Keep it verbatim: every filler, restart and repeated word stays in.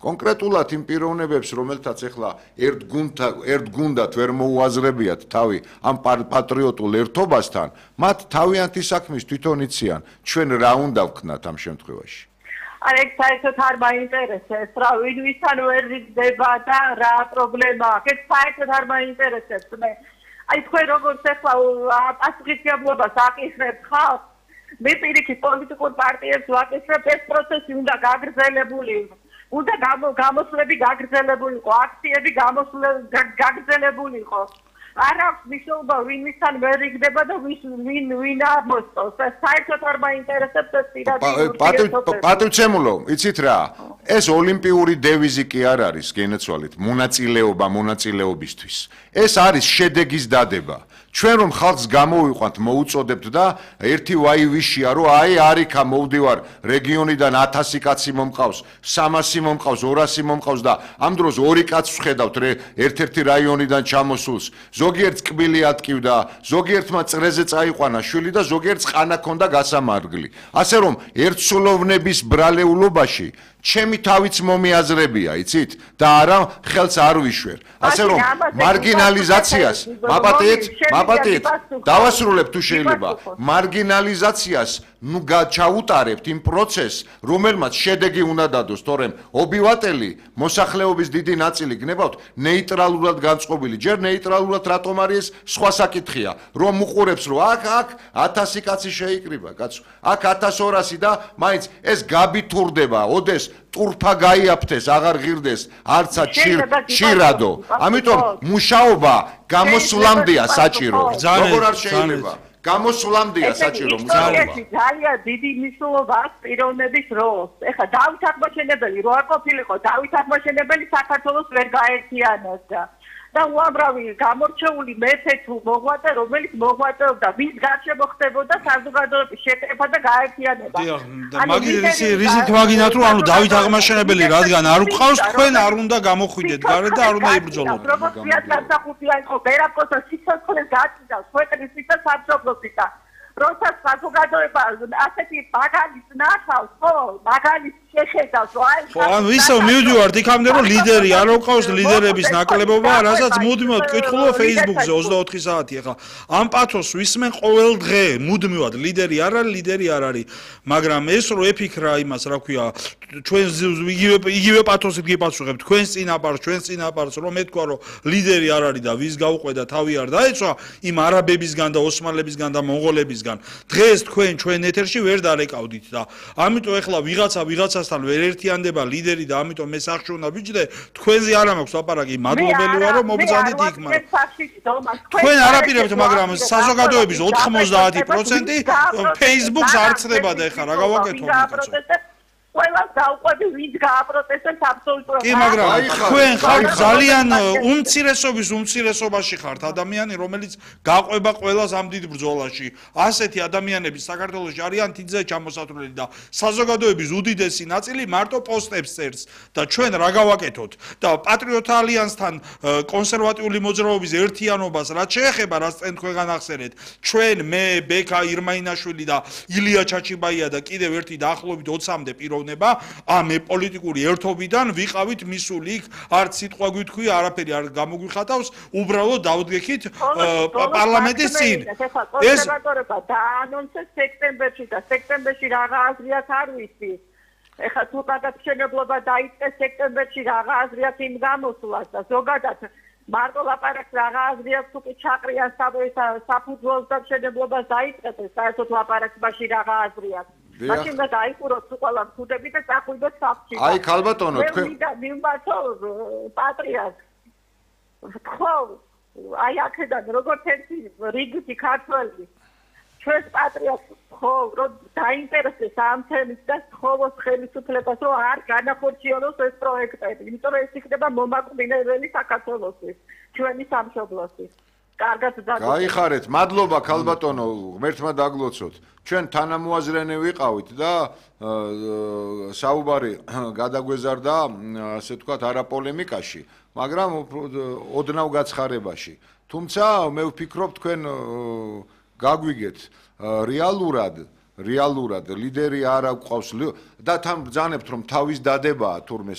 კონკრეტულად იმ პიროვნებებს, რომელთაც ეხლა ერთ გუნდთან, ერთ გუნდად ვერ მოუაზრებიათ თავი ამ პატრიოტულ ერთობასთან, მათ თავიანთი საქმის თვითონ იციან, ჩვენ რა უნდა ვქნათ ამ შემთხვევაში. არა, ეგ საერთოდ არ მაინტერესებს, რა ვინ ვისთან ვერ რიგდება და რა პრობლემაა. ეგ საერთოდ არ მაინტერესებს მე. აი თქვენ როგორც ახლა პასუხისმგებლობას აკისრებთ ხალხს, მე პირიქით პოლიტიკურ პარტიებს ვაკისრებ, ეს პროცესი უნდა გაგრძელებული იყოს. უნდა გამოსვლები გაგრძელებული იყო, აქციები გაგრძელებული იყო. არ აქვს მნიშვნელობა ვინ ვისთან ვერ რიგდება და ვინ ვინ ამოსწოს. საერთოდ არ მაინტერესებს ეს პირადი. პატივცემულო, იცით რა? ეს ოლიმპიური დევიზი კი არ არის, გენაცვალეთ, მონაწილეობა მონაწილეობისთვის. ეს არის შედეგის დადება. ჩვენ რომ ხალხს გამოვიყვანთ, მოუწოდებთ და ერთი ვაივიშია, რომ აი არიქა მოვდივარ რეგიონიდან ათასი კაცი მომყავს, სამასი მომყავს, ორასი მომყავს და ამ დროს ორი კაცს ვხედავთ ერთ-ერთი რაიონიდან ჩამოსულს. ზოგიერთს კბილი ატკივდა, ზოგიერთმა წრეზე წაიყვანა შვილი და ზოგიერთს ყანა ქონდა გასამარგლი. ასე რომ ერთსულოვნების ბრალეულობაში ჩემი თავიც მომიაზრებია, იცით? და არა ხელს არ ვიშვერ. ასე რომ მარგინალიზაციას, მაპატიეთ, მაპატიეთ, დავასრულებ თუ შეიძლება. მარგინალიზაციას ნუ ჩაუტარებთ იმ პროცესს, რომელმაც შედეგი უნდა დადოს, თორემ ობივატელი მოსახლეობის დიდი ნაწილი გნებავთ ნეიტრალურად განწყობილი. ჯერ ნეიტრალურად რატომ არის სხვა საკითხია, რომ უყურებს რომ აქ აქ ათასი კაცი შეიკრიბა, კაცო. აქ ათას ორასი და მაინც ეს გაბითურდება, ოდეს ტურფა გაიაფთეს, აღარ ღირდეს, არცა ჩირადო. ამიტომ მუშაობა გამოსვლამდეა საჭირო. როგორ არ შეიძლება? გამოსვლამდეა საჭირო მუშაობა. ძალიან დიდი მნიშვნელობა აქვს პიროვნების როლს. ეხლა დავით აღმაშენებელი რო არ ყოფილიყო, დავით აღმაშენებელი საქართველოს ვერ გაერთიანებდა. და უამრავი გამორჩეული მეფე თუ მოღვაწე, რომელიც მოღვაწეობდა, ვის გარშემო ხდებოდა საზოგადოების შეკრება და გაერთიანება. დიახ, მაგის რიზით ვაგინათ, რომ ანუ დავით აღმაშენებელი რადგან არ უყავს, თქვენ არ უნდა გამოხვიდეთ გარეთ და არ უნდა იბრძოლოთ. როგორც განსახუთია იყო ბერაკოსა სიცოცხლეს გაწიდავს, ქვეყნის და სამშობლოსის და როცა საზოგადოება ასეთი მაგალითს ნახავს, ხო, მაგალითს შეხედავს, აი ხო, ანუ ისე მივდივართ იქამდე, რომ ლიდერი არ უყავს ლიდერების ნაკლებობა, რასაც მუდმივად კითხულობ Facebook-ზე ოცდაოთხი საათი ახლა. ამ პათოს ვისმენ ყოველ დღე, მუდმივად ლიდერი არ არის, ლიდერი არ არის. მაგრამ ეს რო ეფიქრა იმას, რა ქვია, ჩვენ იგივე იგივე პათოსით გიპასუხებთ, თქვენს წინაპარს, ჩვენს წინაპარს, რომ ეთქვა, რომ ლიდერი არ არის და ვის გაუყვედა, თავი არ დაეცვა, იმ არაბებისგან და ოსმალებისგან და მონღოლებისგან. დღეს თქვენ ჩვენ ეთერში ვერ დარეკავდით და ამიტომ ეხლა ვიღაცა ვიღაცასთან ვერ ერთიანდება ლიდერი და ამიტომ მე სახში უნდა ვიჯდე, თქვენზე არ მაქვს ლაპარაკი, მადლობელი ვარ რომ მომბრძანდით იქ, მაგრამ თქვენ არაპირებთ, მაგრამ საზოგადოების ოთხმოცდაათი პროცენტი Facebook-ს არ ცდება და ეხლა რა გავაკეთო მეკაცო. ყველას დაუყვები ვინც გააპროტესტებს აბსოლუტურად. კი, მაგრამ თქვენ ხართ ძალიან უმცირესობის უმცირესობაში ხართ ადამიანი, რომელიც გაყვება ყველას ამ დიდ ბრძოლაში. ასეთი ადამიანები საქართველოში არიან თითზე ჩამოსათვლელი და საზოგადოების უდიდესი ნაწილი მარტო პოსტებს წერს და ჩვენ რა გავაკეთოთ? და პატრიოტ ალიანსთან კონსერვატიული მოძრაობის ერთიანობას რაც შეეხება, რაც წინ თქვენ განახსენეთ, ჩვენ მე, ბექა ირმაინაშვილი და ილია ჩაჩიბაია და კიდევ ერთი დაახლოებით ოცამდე პიროვნება ამ პოლიტიკური ერთობიდან ვიყავით მისული იქ, არც სიტყვა გვითქვი, არაფერი არ გამოგვიხატავს, უბრალოდ დავდგექით პარლამენტის წინ. ეს კონსერვატორება დაანონსეს სექტემბერში და სექტემბერში რაღა აზრი აქვს არ ვიცი. ეხლა თუ გადამშენებლობა დაიწყეს სექტემბერში რაღა აზრი აქვს იმ გამოსვლას და ზოგადად მარტო ლაპარაკს რაღა აზრი აქვს თუ კი ჩაყრიან საფუძველს და მშენებლობას დაიწყეს, საერთოდ ლაპარაკს მაშინ რაღაცა აზრი აქვს. მაშინ და დაიხუროთ ყველა მქუდები და წახვიდოთ საფში. აი ქალბატონო, თქვენ მიმბათო პატრიარქ. ხო, აი აქედან როგორც ერთი რიგითი ქართველი ჩვენს პატრიარქს ხო, რომ დაინტერესდეს ამ თემით და სთხოვოს ხელისუფლებას, რომ არ განახორციელოს ეს პროექტები, იმიტომ რომ ეს იქნება მომაკვდინებელი საქართველოსთვის, ჩვენი სამშობლოსთვის. კარგად დაგვრჩებით. გაიხარეთ, მადლობა ქალბატონო, ღმერთმა დაგლოცოთ. ჩვენ თანამოაზრენი ვიყავით და საუბარი გადაგვეზარდა, ასე ვთქვათ, არაპოლემიკაში, მაგრამ ოდნავ გაცხარებაში. თუმცა მე ვფიქრობ, თქვენ გაგვიგეთ რეალურად, რეალურად ლიდერი არ აგვყავს და თან ბრძანებთ, რომ თავის დადებაა თურმე